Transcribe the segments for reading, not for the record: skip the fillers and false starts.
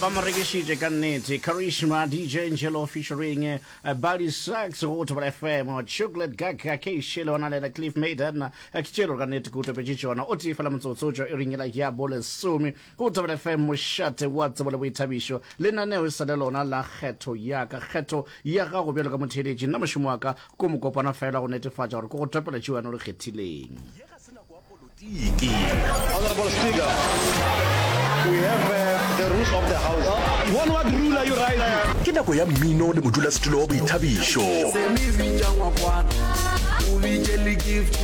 Ba mo rekišitše ka nnete. Charisma, DJ Angelo featuring eh, Buddy Sachs go Thobela FM, Chocolate Gaga, K Shelo ona le Cliff Maiden. Eh, Ke tšelo ka nnete ke utopetše tšona. O tee fela motsotso tšwa iring yela ya bolesome go Thobela FM, mošate wa tsebo le boithabišo. Lenaneo e sa le lona la kgetho ya ka, kgetho ya gago bjalo ka motheeletši. Nna mošomo wa ka ko mokopana fela go netefatša gore ke go topela tšeo wena o di kgethileng. Ye ga se nako ya politiki. Honourable Speaker, we have uh, the rules of the house. On what rule are you rising? Ke nako ya mmino le modulasetulo wa boithabišo. Se me bitša ngwakwana, o bitše le gift,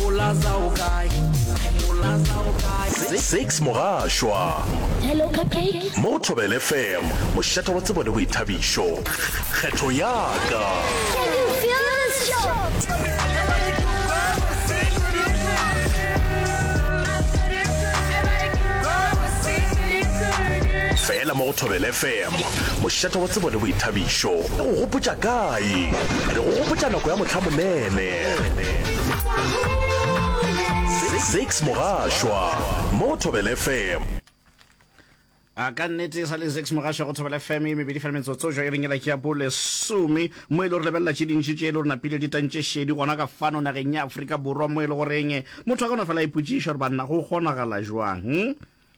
Molaza o kae? Molaza o kae? Zakes Mogašwa. Hello Cupcake. Mo go Thobela FM, mošate wa tsebo le boithabišo. Kgetho ya ka. Can you feel this show? Fela mo go Thobela FM, mošate wa tsebo le boithabišo. Re go gopotša kae? Re go gopotša nako ya mohlamonene. Zakes Mogašwa mo go Thobela FM. A ka nnete e sa le Zakes Mogašwa go Thobela FM e mebedi fela metsotso jo e reng ela ke ya bolesome mo e le gore lebelela tše dintši tše e le gore napile di tantše šedi gona ka fano nageng ya Afrika Borwa mo e le goreng motho a ka no fela a ipotšiša gore banna go kgonagala jwang hm?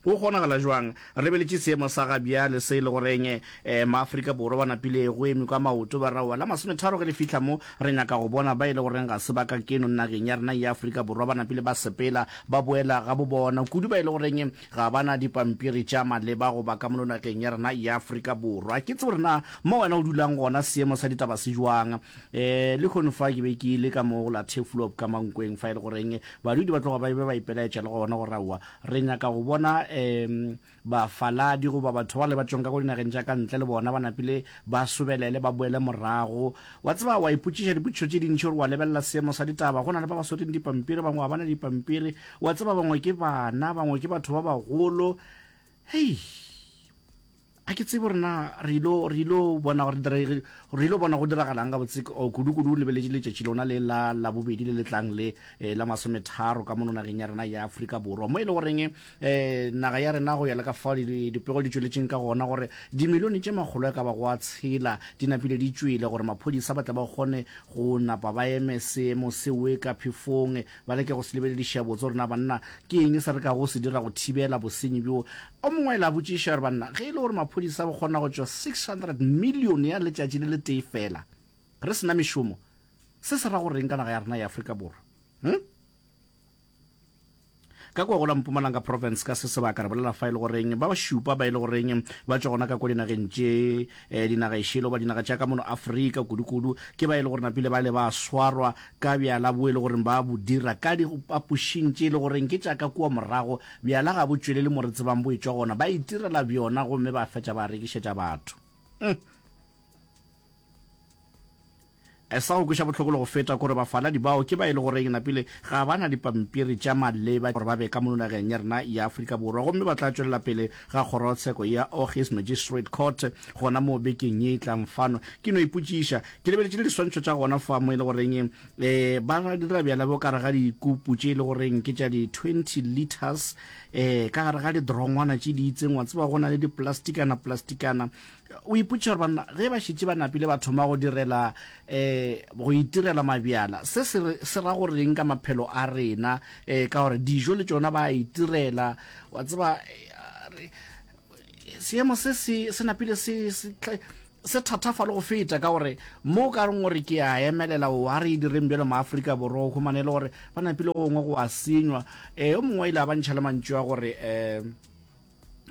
Go kgonagala jwang re lebeletše seemo sa ga bjale se e le goreng eh, maafrika Borwa ba napile go eme ka maoto ba raowa la masometharo ge le fihla mo re nyaka go bona ba e le goreng ga se ba ka keno nageng ya rena ya Afrika Borwa ba napile ba sepela ba boela ga bo bona kudu ba e le goreng Ga ba na dipampiri tša maleba go ba ka mono nageng ya rena ya Afrika Borwa. Ke tsebe gore na mo wena o dulang gona seemo sa ditaba se jwang. E, lehono fa ke be ke ile ka mo go la Turfloop ka Mankweng fa e le goreng badudi ba tloga ba be ba ipelaetša le gona gore aowa re nyaka go bona um bafaladi goba batho bale ba tšwang ka ko dinageng tša ka ntle le bona ba napile ba sobelele ba boele morago. Wa tseba wa ipotšiša dipotšišo tše dintši gore wa lebelela seemo sa ditaba go na le ba ba swereng dipampiri bangwe ga ba na dipampiri. Wa tseba bangwe ke bana, bangwe ke batho ba bagolo. Hei, a ke tsebe gore na re ilo re ilo bona gore re re ilo bona go diragalang gabotse kudu-kudu o lebeletše letšatši lona le la labobedi le le tlang le eh, la masometharo ka mono nageng ya rena ya Afrika Borwa mo e le goreng eh, naga ya rena go ya le ka fao dipego di tšweletšeng ka gona gore dimilione tše makgolo a ka ba go a tshela di napile di tšwele gore maphodisa ba tle ba kgone go napa ba eme seemo sewe ka phefong Ba leke go se lebelediša botse gore na banna ke eng se re kago se dira go thibela bosenyi bjo. O mongwe a ile a botšiša gore banna ge e le gore maphodisa ba kgona go tšwa 600 million ya letšatši le letee fela re se na mešomo, se se ra go reng ka naga ya rena ya Afrika Borwa? Hm? Ka kua go la Mpumalanga Province ka se sebaka re bolela fa e le goreng ba šupa ba e le goreng ba tšwa gona ka kwa dinageng tše eh, dinaga ešele goba dinaga tša ka mono Afrika kudu-kudu ke ba e le gore napile ba le ba swarwa ka bjala bo e le goreng ba bo dira ka dipapošing tše e le goreng ke tša ka kua morago. Bjala ga bo tšwelele mo re tsebang bo etšwa gona, ba itirela bjona gomme ba fetša ba rekišetša batho. Mm. Sa go kweša bohloko le go feta kore bafaladi bao ke ba e le goreng napile ga ba na dipampiri tša maleba gore ba be ka mono nageng ya rena ya Afrika Borwa gomme ba tla tšwelela pele ga kgorotsheko ya Ogies Magistrate Court gona moo bekeng ye e tlang fano. Ke no ipotšiša, ke lebeletše le diswantšho tša gona fa mo e le goreng um ba dira bjala bo ka gare ga dikupu tše e le goreng ke tša di 20 litres um ka gare ga didrongwana tše di itseng, wa tseba go na le diplastikana plastikana. O ipotšiša gore banna ge ba šetše ba napile ba thoma go direla um go itirela mabjala, se se re se ra go reng ka maphelo a rena um ka gore dijo le tšona ba a itirela. Wa tseba seemo se se se napile se se se thathafa le go feta ka gore mo o ka reng gore ke a emelela o a re e direng bjalo maAfrika Borwa o humane e le gore ba napile gongwe go a senywa. Um yo mongwe o ile a ba ntšha le mantšu a gore um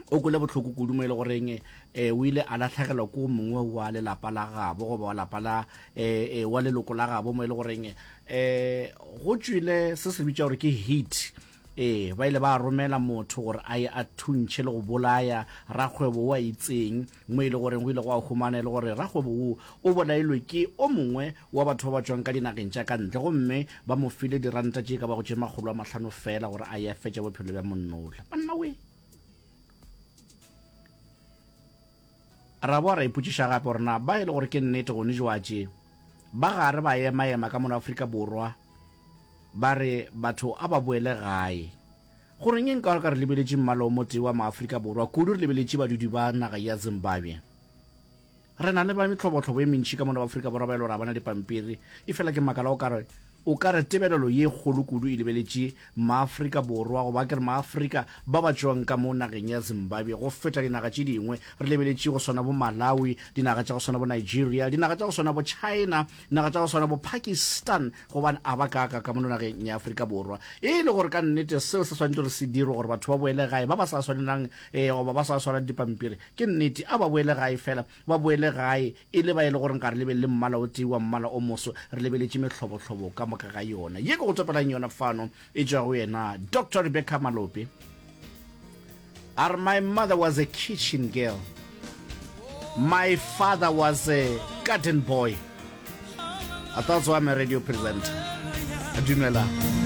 o kwele bohloko kudu mo e le goreng eh, o ile a lahlegelwa ke o mongwe wa lelapa la gabo goba wa lapa la eh, eh, wa leloko la gabo mo e le goreng eh, go tšwile se se bitša gore ke heat ee ba ile ba romela motho gore a ye a thuntšhe le go bolaya rakgwebo wa itseng mo e le goreng go ile go a humana e le gore rakgwebo wo o bolailwe ke o mongwe wa batho ba ba tšwang ka dinageng tša ka ntle gomme ba mo file diranta tše ka bago tše 500 feela gore a ye a fetše bophelo bja monnola. Banna we! Ra boa ra ipotšiša gape gore na ba e le gore ke nnete gone jwatše ba gare ba ema-ema ka mono Afrika Borwa ba re batho a ba boele gae. Goreng nka ka re lebeletše mmala o motee wa Maafrika Borwa, kudu re lebeletše badudi ba naga ya Zimbabwe? Re na le ba mehlobohlobo e mentši ka mono Afrika Borwa ba e le gore ga ba na dipampiri, efela ke makala o ka re o ka re tebelelo ye kgolo kudu e lebeletše Maafrika Borwa goba ke re Maafrika ba ba tšwang ka mo nageng ya Zimbabwe go feta dinaga tše dingwe. Re lebeletše go swana bo Malawi, dinaga tša go swana bo Nigeria, dinaga tša go swana bo China, dinaga tša go swana bo Pakistan, gobane a ba kaaka ka mono nageng ya Afrika Borwa. E le gore ka nnete seo se swanetše gore se dirwe gore batho ba boele gae ba ba sa swanelang eh, goba ba sa swarang dipampiri, Ke nnete, a ba boele gae, fela ba boele gae e le ba e le gore ga re lebelele mmala o tee wa mmala o moso, re lebeletše mehlobohlobo ka moka ga yona. Ye ke go topelang yona fano e tšwa go yena Doctor Rebecca Malope. A re, My mother was a kitchen girl. My father was a garden boy. That's why I'm a radio presenter. Dumela.